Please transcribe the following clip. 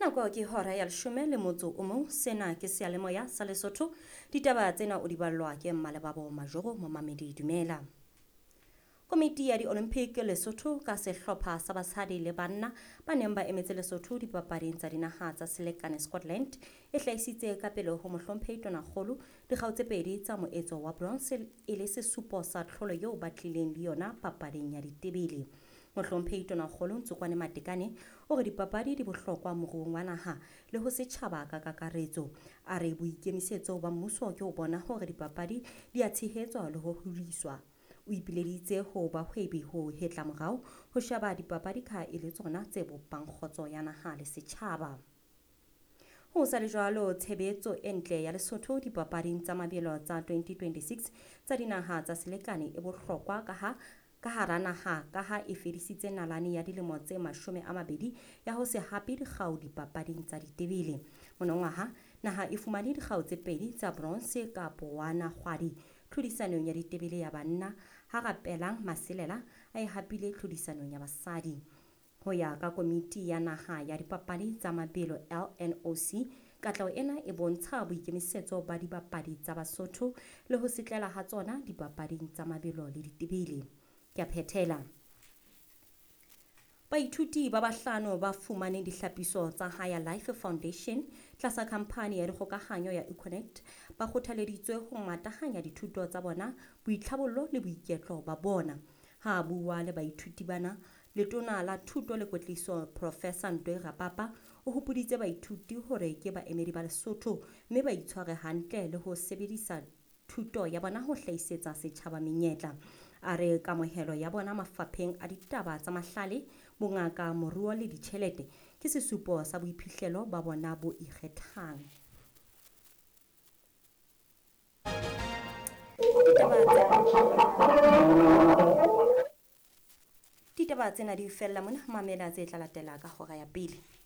Nako ke hora ya leshome le motso o mong. Sena ke seyalemoya sa Lesotho. Ditaba tsena o di ballwa ke Mmalebabo Majoro Momamedi Dumela. Komiti ya di-Olympic Lesotho ka sehlopha sa basadi le banna ba neng ba emetse Lesotho dipapading tsa dinaha tsa selekane Scotland e hlahisitse ka pele ho mohlomphehi Tonakgolo dikgau tse pedi tsa moetso wa bronze e le sesupo sa tlholo eo ba tlileng le yona papading ya ditebele. Mohlomphehi Tonakgolo Ntsokwane Matekane o re dipapadi di bohlokwa moruong wa naha le ho setjhaba ka kakaretso. A re boikemisetso ba mmuso ke ho bona hore dipapadi di a tshehetswa le ho hodiswa. O ipileditse ho bahwebi ho hetla morao ho sheba dipapadi ka e le tsona tse bopang kgotso ya naha le setjhaba. Ho sa le jwalo, tshebetso e ntle ya Lesotho dipapading tsa mabelo tsa 2026 tsa dinaha tsa selekane e bohlokwa ka hara naha ka ha e fedisitse nalane ya dilemo tse 20 ya ho se hape dikgau dipapading tsa ditebele. Monongwaha, naha e fumane dikgau tse pedi tsa bronze ka Powana Kgwadi tlhodisanong ya ditebele ya banna ha Rapelang Maselela a e hapile tlhodisanong ya basadi. Ho ya ka komiti ya naha ya dipapadi tsa mabelo LNOC, katleho ena e bontsha boikemisetso ba dibapadi tsa Basotho le ho setlela ha tsona dipapading tsa mabelo le ditebele. Ke a phethela. Baithuti ba bahlano ba fumaneng dihlapiso tsa Higher Life Foundation tlasa khamphani ya dikgokahanyo ya Econet ba kgothaleditswe ho matahanya dithuto tsa bona, boitlhabollo le boiketlo ba bona. Ha a bua le baithuti bana, Letona la Thuto le Kwetliso Professor Ntwe Rapapa o hopoditse baithuti hore ke baemedi ba Lesotho mme ba itshware hantle le ho sebedisa thuto ya bona ho hlahisetsa setjhaba menyetla. A re kamohelo ya bona mafapheng a ditaba tsa mahlale, bongaka, moruo le ditjhelete ke sesupo sa boiphihlelo ba bona bo ikgethang. Ditaba tsena di fella mona, mamela tse tla latela ka hora ya pele.